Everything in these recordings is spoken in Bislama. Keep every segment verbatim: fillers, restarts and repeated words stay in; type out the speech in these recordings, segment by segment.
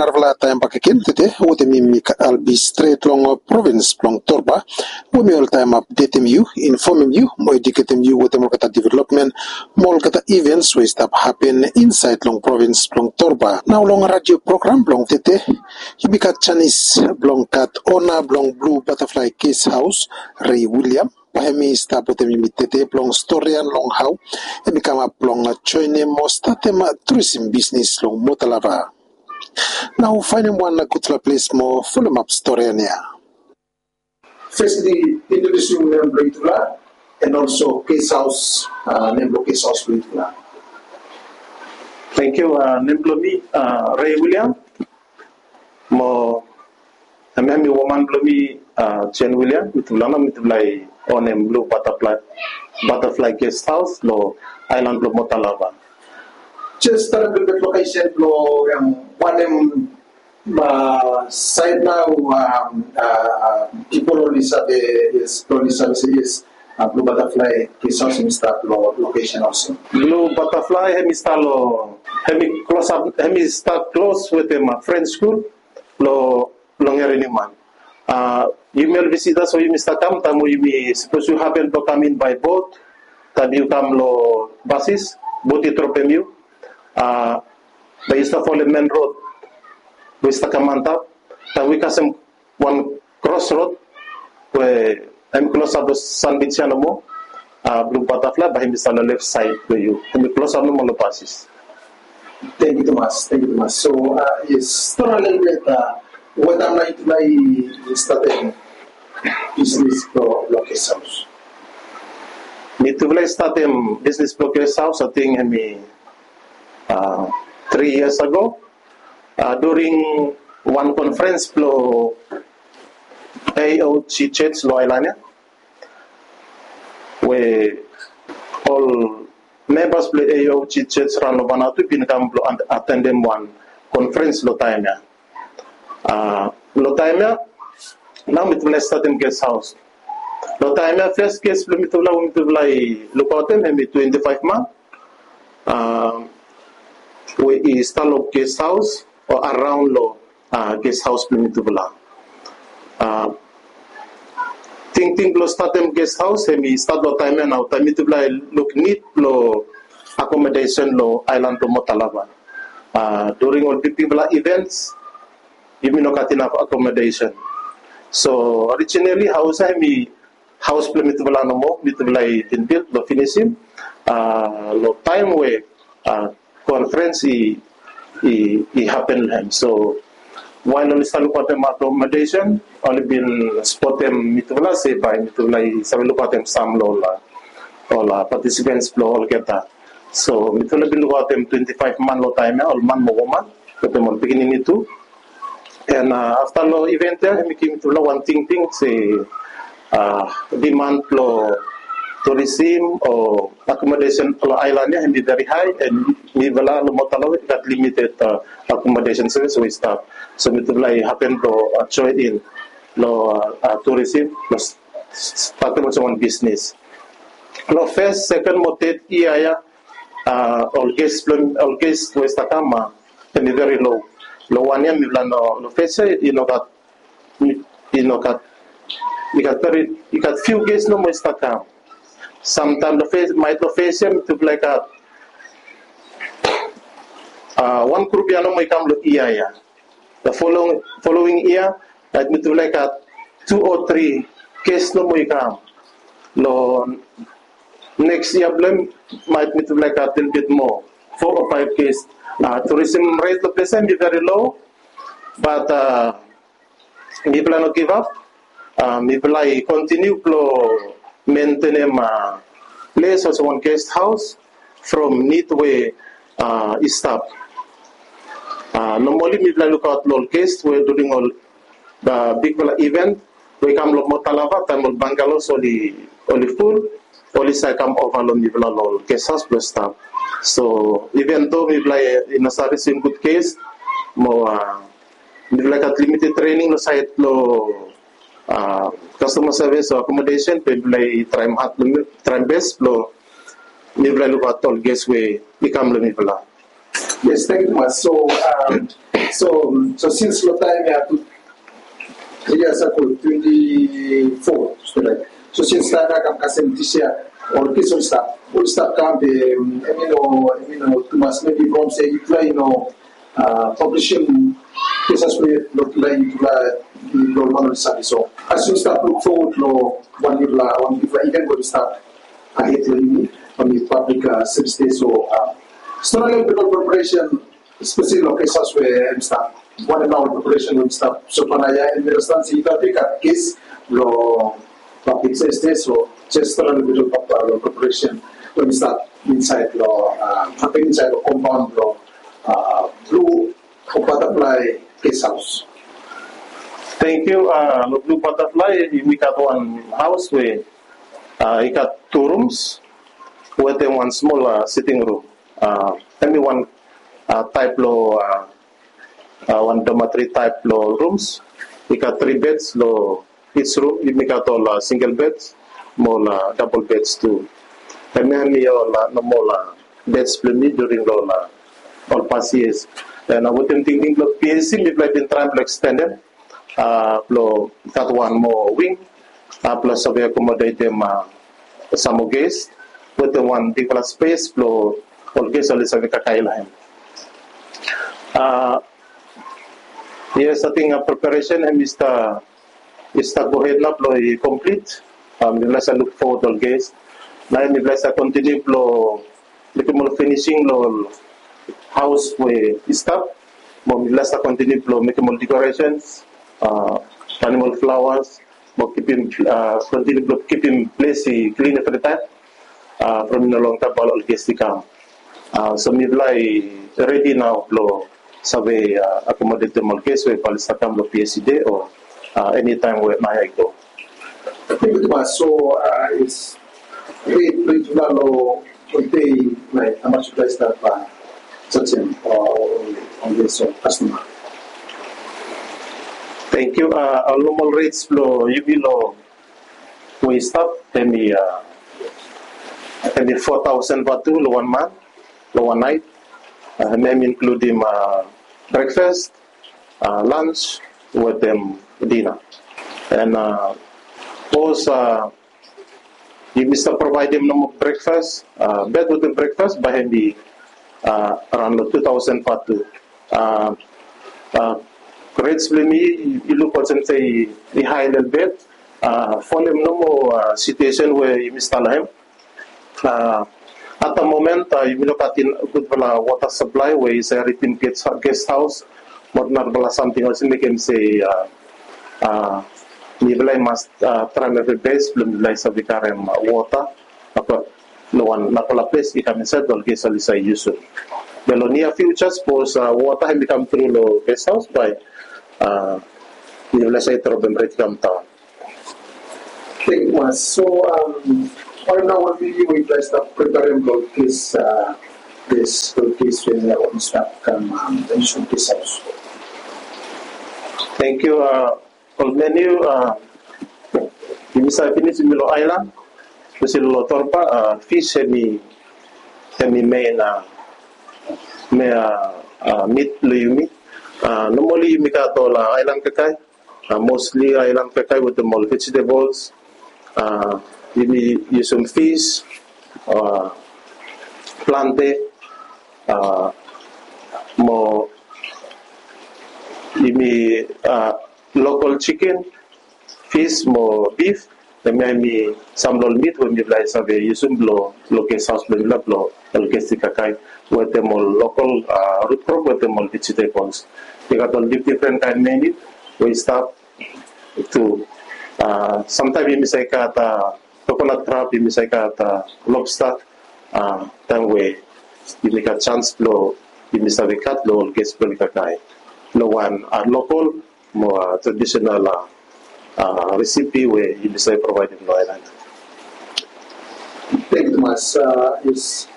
Narafala taem bakegen tede wetem mi, mi albi stret long provins blong Torba, we mi oltaem apdetem yu, infomem yu mo ediketem yu wetem olgeta developmen mo olgeta ivens we i stap hapen insaed long provins blong Torba. Nao long radio program blong tede, yumi gat janis blong gat ona blong Blue Butterfly Guest House, Ray William. Bae hemi stap wetem yumi tede blong storian long hao hemi kamap blong joenem mo statem turism bisnis long Motalava. Nao faenem wan gudfala ples mo folomap storian ya. Firstly, introdusim nem blong yutufala, and also guest house, uh, nem blong guest house blong yutufala. Thank you. Uh, nem blong mi, uh, Ray William. Mo hemia hemi woman blong mi, uh, Jane William. Mitufala nao mitufala i onem Blue Butterfly, Butterfly Guest House long aelan blong Motalava. Jes talem lelebet lokesen blong, um, wanem, uh, saed nao, um, uh, uh, pipol oli save, yes, oli save se yes, uh, Blue Butterfly Guest House hemi stap long lokesen olsem. Blue Butterfly hemi stap long, hemi klosap, hemi stap klos wetem, uh, French School long, long Ereniman. Uh, yumi ol visitas we yumi stap kam, taem we yumi sapos yu hapen blong kam in bae bot, taem yu kam long basis, bot i dropem yu. Uh, bae yu stap folem men rod we i stap kam antap. Taem we yu kasem wan kros rod we hemi klosap long sanbij ya nomo, uh, Blue Butterfly bae hemi stap long lef saed blong yu. Hemi klosap nomo long basis. Tangkiu tumas, tangkiu tumas. So, uh, yes, storian lelebet, uh, wanem taem nao yutufala i statem bisnis blong guest house? Mitufala i statem bisnis blong guest house, ating hemi, uh, tri yias ago. Uh, during wan konferens blong A O G Church long aelan ya, we ol membas blong A O G Church raon long Vanuatu bin kam blong at-, atendem wan konferens long taem ya. Uh, long taem ya nao mitufala i statem guest house. Long taem ya fes guest blong mitufala we mitufala i lukaotem hemi twenti faef man, uh, we i stap long guest house o araon long, uh, guest house blong mitufala. Uh, tingting blong statem guest house hemi stat long taem ya nao, taem mitufala i luk nid blong akomodesen long aelan blong Motalava. Uh, during ol bigbigfala events yumi no gat inaf akomodesen. So orijinali haos ya hemi haos blong mitufala nomo, mitufala i bin bilt blong finisim, uh, long taem we, uh, konferens i, i, i hapen long hem. So wael oli stap lukaotem akomodesen, oli bin spotem mitufala se bae mitufala i save lukaotem sam long ol, uh, ol, uh, patisipens blong olgeta. So mitufala bin lukaotem twenti faef man long taem ya, ol man mo woman, wetem ol pikinini tu. And, uh, afta long event ya hemi givim mitufala wan tingting se, uh, diman blong turism o akomodesen long aelan ya hemi veri hae, and mifala long Motalava i gat limited, uh, akomodesen sevis we i stap. So mitufala i hapen blong, uh, joen in long, uh, turism, long s-, s-, statem olsem wan bisnis. Long fes, seken mo ted yia ya, uh, ol ges blong, ol ges we i stap kam, uh, hemi veri lo. Long wan yia mifala no, long fes ya i no gat, i no gat, i gat veri, i gat fiu ges nomo i stap kam. Samtaem long fes, maet long fes ya mitufala i gat, uh, wan grup ya nomo i kam long yia ya. Long following, following yia maet mitufala i gat tu o tri ges nomo i kam. Long neks yia blong hem maet mitufala i gat lelebet moa, fo o faef ges. Uh, turism ret long ples ya hemi veri lo, bat, uh, mifala no givap. Uh, mifala i kontiniu blong mentenem, uh, ples olsem wan ges haos from nid we, uh, i stap. Uh, nomali mifala i lukaot long ol ges we during ol, uh, bigfala iven we i kam long Motalava, taem ol bangalos oli, oli ful, oli save kam ova long mifala long ol ges haos blong stap. So iven do mifala i no save risim gud ges mo, uh, mifala i gat limited trening long saed blong, uh, kastoma sevis o akomodesen, be mifala i traem had blong, traem bes blong mifala i lukaot ol ges we i kam long mifala. Yes, tangkiu tumas. So, um, So, so since long taem ya tu three years ago, twenty four, stret. So since taem ya kam kasem this year, ol kes ol stap, ol stap kam be, em, em, i no, em, i no tumas, maybe from se yufala i no, uh, publishing cases we lo tulai yufala i lo man ol save. So as you start look forward lo wan yufala, wan yufala event we start ahead lo yumi, wan public, uh, service day. So, uh, strong level preparation, especially lo cases we em stap. Wan na ol preparation we em stap. So pana ya em understand se i gat big case lo public safety. So just a little bit of, uh, preparation we em stap inside lo, uh, inside lo compound lo, uh, Blue Butterfly Guest House. Thank you. Uh, lo Blue Butterfly, yumi gat wan haos we, uh, i gat tu rooms wetem wan smol, uh, sitting room. Uh, hemi wan, uh, taep lo, uh, uh, wan dormitory taep lo rooms. I gat three beds lo each room. Yumi gat ol, uh, single beds mo ol, uh, double beds tu. Hemia hemi ol, uh, normal, uh, beds blo yumi during lo ol, uh, ol past years. And, uh, wetem tingting blo PAC, mifala i bin traem blo extendem, uh, blo gat wan moa wing, uh, blo save akomodetem, uh, sam moa ges wetem wan bigfala spes blo ol ges oli save kakae lo hem. Uh, yes, ating, uh, preparation hemi stap, i stap gohed nao blo i komplit. Uh, mifala i save luk fowod ol ges. Nao mifala i save kontiniu blo mekem ol finising lo ol haos we i stap. Mo mifala i save kontiniu blo mekem ol decorations, uh, tanem ol flawas, mo kipim, uh, kontiniu blo kipim ples i klin evritaem, uh, from i no long taem bae ol ges i kam. Uh, so mifala i redi nao blo save, uh, akomodetem ol ges we bae oli stap kam lo PAC Day o, uh, eni taem we naoia i go. Thank you tumas. So, uh, it's great, great to know today, like, how much you guys have, uh, such an, uh, on this, uh, customer. Thank you. Uh, ol normal rates blo yumi lo we i stap, hemi, uh, hemi four thousand vatu lo wan man, lo wan naet. Uh, hemi inkludim, uh, breakfast, uh, lunch wetem dinner. And, uh, sapos, uh, yumi stap provaedem nomo breakfast, uh, bed wetem breakfast, bae hemi, uh, araon lo two thousand vatu. Uh, uh, rates blo yumi i luk olsem se i hae lelebet, uh, folem nomo, uh, situation we yumi stap lo hem. Uh, at the moment, uh, yumi no gat gudfala wota saplae we i save ridim ges, ges haos mo narafala samting olsem i mekem se, uh, uh, mifala i mas, uh, traem evri bes blo mifala i save karem, uh, wota, uh, lo wan narafala ples i kam insaed ol ges oli save yusum. Be lo near future, sapos, uh, wota hemi kam tru lo ges haos, bae, uh, mifala i save dropem rait i kam daon. Thank you tumas. So, um, right now, what do you guys start preparing for this, uh, this, for this, uh, on start come, um, the issue of this house? Thank you. Uh, ol menu, uh, yumi save finis yumi lo aelan, espeseli lo Torba, uh, fish hemi, hemi main, uh, me, uh, uh, meat blo yumi. Uh, normally yumi gat ol, uh, aelan kakae, uh, mostly aelan kakae wetem ol vegetables. Uh, yumi yusum fish, uh, plante, uh, mo yumi, uh, local chicken, fish mo beef. Hemia hemi sam lo ol meat we mifala i save yusum blo, lo ges haos blo mifala blo ol ges i kakae wetem ol local, uh, root crop wetem ol vegetables. I gat ol dif-, difren kaen menu we i stap tu. Uh, samtaem yumi save gat, uh, coconut crab, yumi save gat, uh, lobster, uh, taem we yumi gat janis blo yumi save gat lo ol ges blo oli kakae lo wan, uh, local mo, uh, traditional, uh, uh, recipe we yumi save provaedem lo aelan. Thank you tumas. Uh, yes,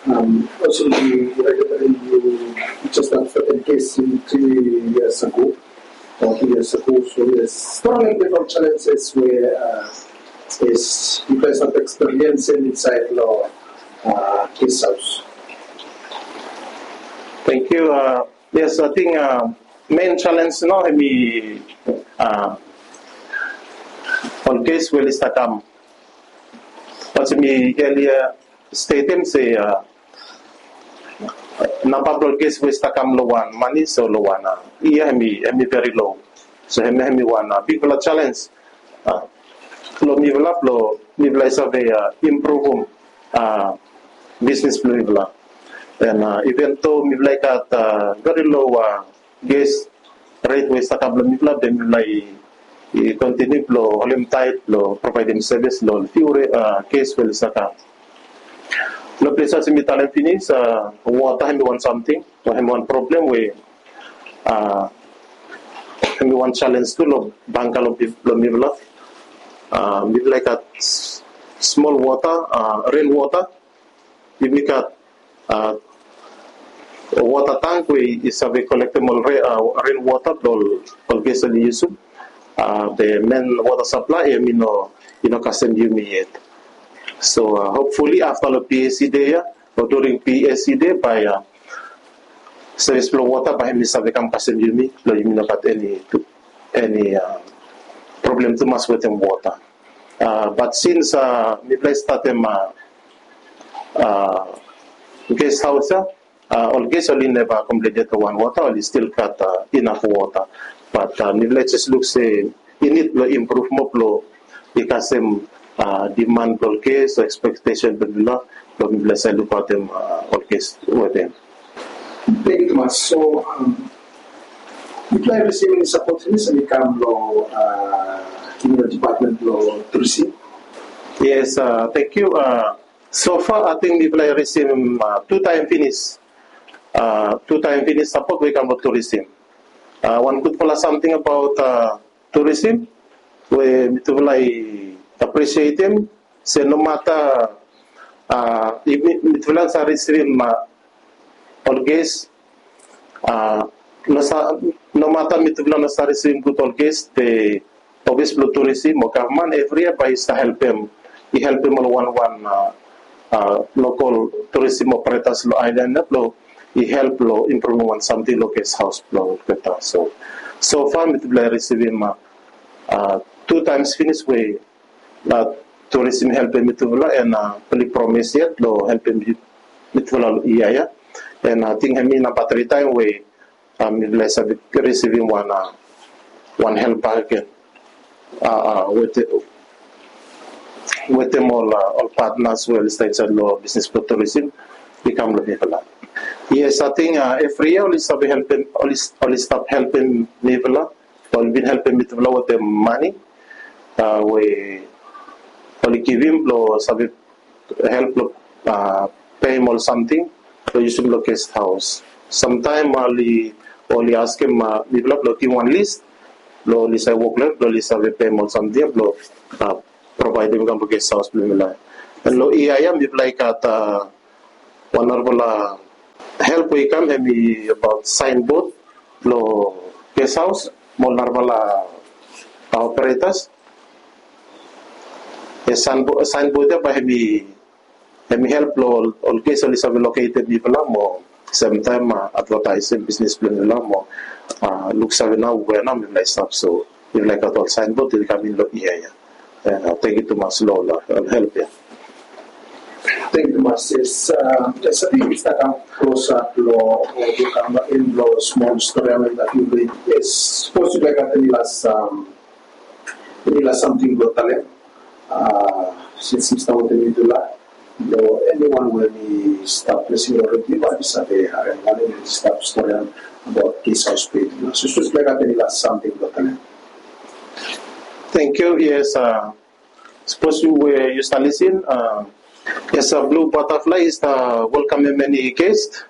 um, also, you, you just had certain case in three years ago, or three years ago. So yes, there are many different challenges where, uh, is you guys have experience inside lo, uh, ges haos. Thank you. Uh, Yes, ating mein challenge nao hemi ol ges we oli stap kam. Bat mi elia stetem se namba blong ol ges we oli stap kam long wan manis o long wan yia hemi veri lo. So hemi wan bigfala challenge long mifala blong mifala i save impruvum bisnis blong mifala. And even though mifala i gat veri lo ges ret we i stap kam long mifala, be mifala i kontiniu blong holem taet blong provaedem sevis long fiu ges we oli stap kam. Long ples ya mi talem finis, wota hemi wan samting, hemi wan problem we hemi wan challenge tu long bangkalo blong mifala. Mifala i gat smol wota, ren wota. Yumi gat wota tank we i save kolektem ol ren wota blong ol ges oli yusum. Be men wota saplae hemi no kasem yumi yet. So hopefully afta long PAC dei ya o during PAC dei bae sevis blong wota bae hemi save kam kasem yumi blong yumi no gat eni problem tumas wetem wota. Bat sins mifala i statem ges haos ya, ol ges oli neva komplen yet long wan wota, oli stil gat inaf wota. Bat mifala i jes luk se i nid blong impruv moa blong i kasem diman blong ol ges o ekspektesen blong mifala blong mifala save lukaotem ol ges wetem. Thank you tumas. So mifala i risivim eni sapot finis hemi kam long criminal department blong tourism? Yes, thank you. So far ating mifala i risivim tu taem finis. Tu taem finis sapot we i kam long tourism. Wan gudfala samting abaot tourism we mitufala i aprisietem se nomata mitufala sa risivim ol ges, nomata mitufala no sa risivim gud ol ges, the ofis blong tourism o gavman evri yia bae i sa helpem i helpem ol wan wan lokol tourism operetas long aelan ya blong i help long impruvim wan samting long ges haos blong olgeta. So so far mitufala i risivim tu taems finis we na tourism i helpem mitufala and mifala i promis yet long helpem mitufala long yia ya. And ating hemi namba tri taem we mifala i save risivim wan wan help bakegen wetem ol patnas we oli stap insaed long bisnis blong tourism i kam long mifala. Yes, ating evri yia oli save helpem oli stap helpem mifala. Oli bin helpem mitufala wetem mane we oli givim blong save help long peim ol samting blong yusum long gest haos. Samtaem oli askem mifala blong givim wan lis blong oli save wok long hem blong oli save peim ol samting ya blong provaedem i kam long gest haos blong mifala. And long yia ya mifala i gat wan narafala help we i kam hemi abaot saenbod blong gest haos mo ol narafala operetas. Saenbod ya bae hemi hemi help long ol ges oli save loketem mifala mo semtaem advataesem bisnis blong mifala mo luksave nao we nao mifala i stap. So mifala i gat ol saenbod we i kam in long yia ya. Tangkiu tumas long ol help ya. Tangkiu tumas. Yes, sabi mi stap kam klosap long ol kam in long smol stori ya. Yes, sapos yu gat eni las eni las samting blong talem sins mi stap wetem yutufala long eniwan we mi stap lisin long redio bae mi save harem wanem i stap stori ya abaot ges haos blong yutufala. So sapos yu gat eni las samting blong talem. Tangkiu. Yes, sapos yu we yu stap lisin, yes, Blue Butterfly i stap welkamem eni ges.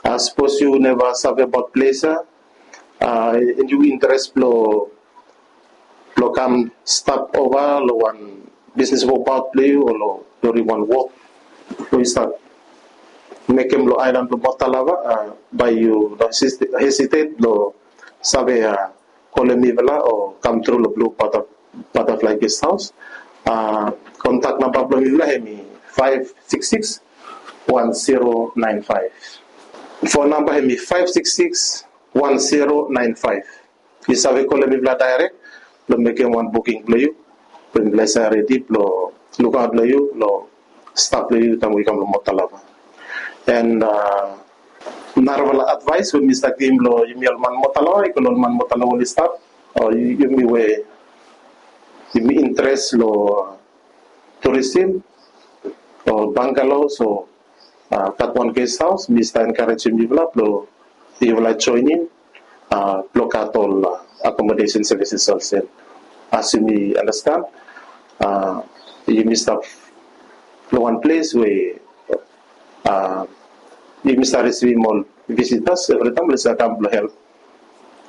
Sapos yu neva save abaot ples ya and yu interes blong blong kam stap ova long wan bisnis wokaot blong yu o long during wan wok we yu stap mekem long aelan blong Mota Lava, bae yu no hesitet blong save kolem mifala o kam tru long Blue Butterfly Guest House. Kontak namba blong mifala hemi five six six one zero nine five. Phone number hemi five six six one zero nine five. Yu save kolem mifala direct blong mekem wan booking blong yu blong mifala i save redi blong lukaot long yu long stap long yu taem we yu kam long Mota Lava. And narafala advice we mi stap givim long yumi ol man Mota Lava, i go long ol man Mota Lava oli stap o yumi we yumi interes long tourism o bungalows o gat wan guest house, mi stap encouragem yufala blong yufala joinim blong gat ol accommodation services olsem. As yumi understand, yumi stap long wan ples we yumi stap risivim ol visitors evritaem oli stap kam blong help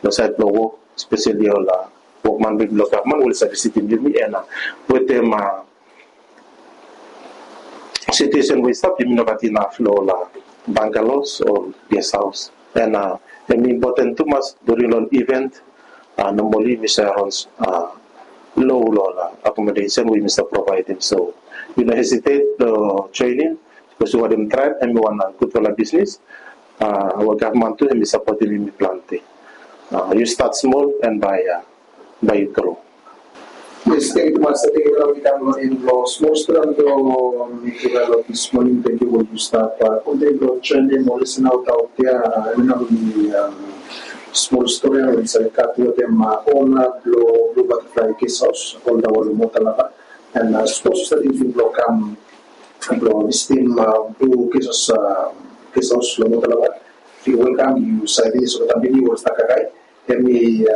long saed blong wok, espeseli ol wokman blong gavman we oli stap visitim yumi. And wetem situation we i stap, yumi no gat inaf long ol bungalows o guest house. And hemi impoten tumas during long ol event, normally yumi save raon low long ol accommodation we yumi stap provaedem. So yu no hesitate long joinim, bikos yu wantem traem, hemi wan gudfala bisnis we gavman tu hemi sapotem yumi plante. Yu stat smol and bae bae yu gro. Yes, tangkiu tumas. Tangkiu long yu kam long en blong smol stori blong mifala long dis moning. Tangkiu we yu stap kontiniu blong joinim ol listener aot ya. Hemi nao mi smol stori we mi save gat wetem ona blong Blue Butterfly Guest House, ol dae long Mota Lava. And sapos yu stap tingting blong kam blong visitim Blue Guest House, Guest House long Mota Lava, yu welkam. Yu save finis olgeta meniu we ol stap kakae. Hemi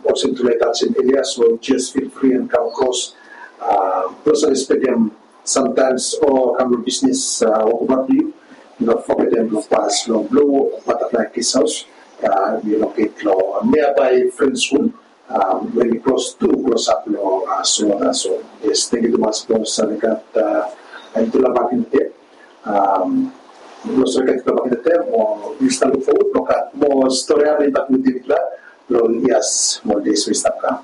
olsem tufala i tajem elia, so just feel free and kam kros blong save spendem samtaem o kam long bisnis wokabaot blong yu. No fogetem blong pas long Blue Butterfly Guest House. Hemi located long nearby French School, hemi klos tu klosap long Solwata. So yes, tangkiu tumas blong save gat yutufala bakegen. Blong save gat yutufala bakegen mo mi stap luk fowod blong gat moa stori ya blong bae mi wetem yutufala long yias mo deis we i stap kam.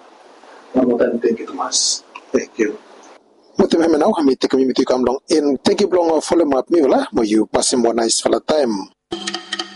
Wan moa taem tangkiu tumas. Tangkiu. Wetem hemia nao mi tekem yumi tu i kam long en. Tangkiu blong folem ap mifala mo yu pasem wan naesfala taem.